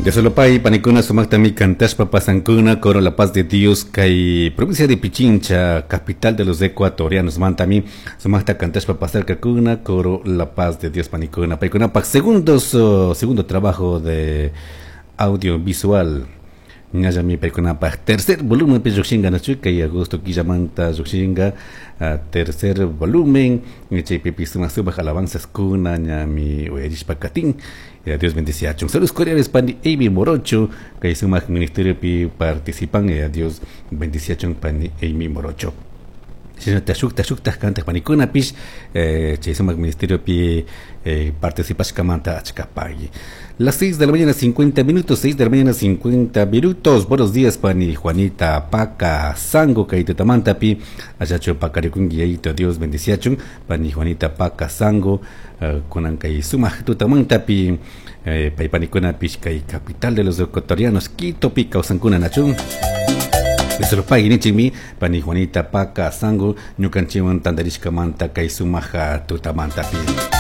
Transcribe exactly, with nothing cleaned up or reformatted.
Dios panikuna sumaktami cantashpa pasankuna coro La Paz de Dios kay provincia de Pichincha, capital de los ecuatorianos mantami sumakta cantashpa pasarkakuna coro La Paz de Dios panikuna paykuna pak segundos segundo trabajo de audiovisual ñallami paykunapaj tercer volumen pi llukshinga nachu kay agosto killamanta llukshinga tercer volumen chaypipi sumak sumak alabanzas kuna ñami uyarishpa katin. Dios bendeciachun. Saludos cordiales pani Amy Morocho kay sumak ministerio pi participan. Dios bendeciachun pani Amy Morocho. Shinata shukta shukta kantaq panikunapish chay sumak ministerio pi participashkamanta achkapagui. Las seis de la mañana cincuenta minutos, seis de la mañana cincuenta minutos. Buenos días, pani Juanita Paca Sango, kaitutamantapi, achacho pacarikungi yayito, Dios bendeciachun, pani Juanita Paca Sango, uh, kunan kay sumak tutamantapi, eh, paypanikunapish kay capital de los ecuatorianos, Quito pi kawsankuna nachun. Pagui nichikmi pani Juanita Paca Sango, ñukanchikwan tantarishkamanta kay sumaja tutamantapi.